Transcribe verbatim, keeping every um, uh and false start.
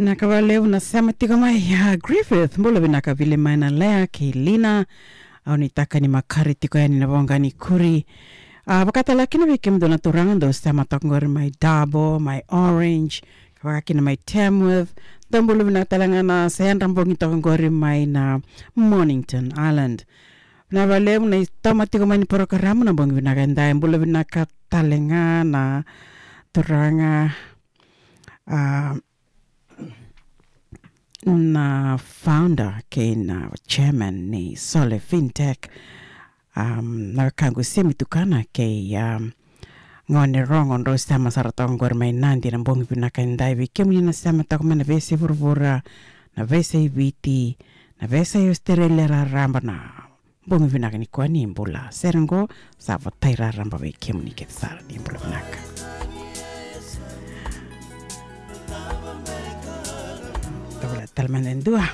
Na ka vakalevu na sema tiko mai, a, Griffith, bula vinaka vili mai na Lea kei Lina. Au ni taka ni makare tiko yani na voqa ni kuri. A, vakatala kina vei kemudou na turaga dou sema toka qori mai Dabo, mai Orange, ka vaka kina mai Tamworth. Dou bula vinaka tale ga na sa yadra bogi toka qori mai na Mornington Island. Na vakalevu na itoma tiko mai ni porokaramu na bogi vinaka edai, bula vinaka tale ga na turaga, a, na founder kei na chairman ni Sole Fintech, um, na wekaqu Semi Tukana kei, um, gone rogo drau sema sara toka qori mai Nadi na bogi vinaka edai. Vei kemuni na sema toka mai na veiyasai vuravura, na veiyasai Viti, na veiyasai Australia raraba, na bogi vinaka nikua, ni bula. Sere qo sa votai raraba vei kemuni kece sara, ni bula vinaka. Tavula tale mada e dua.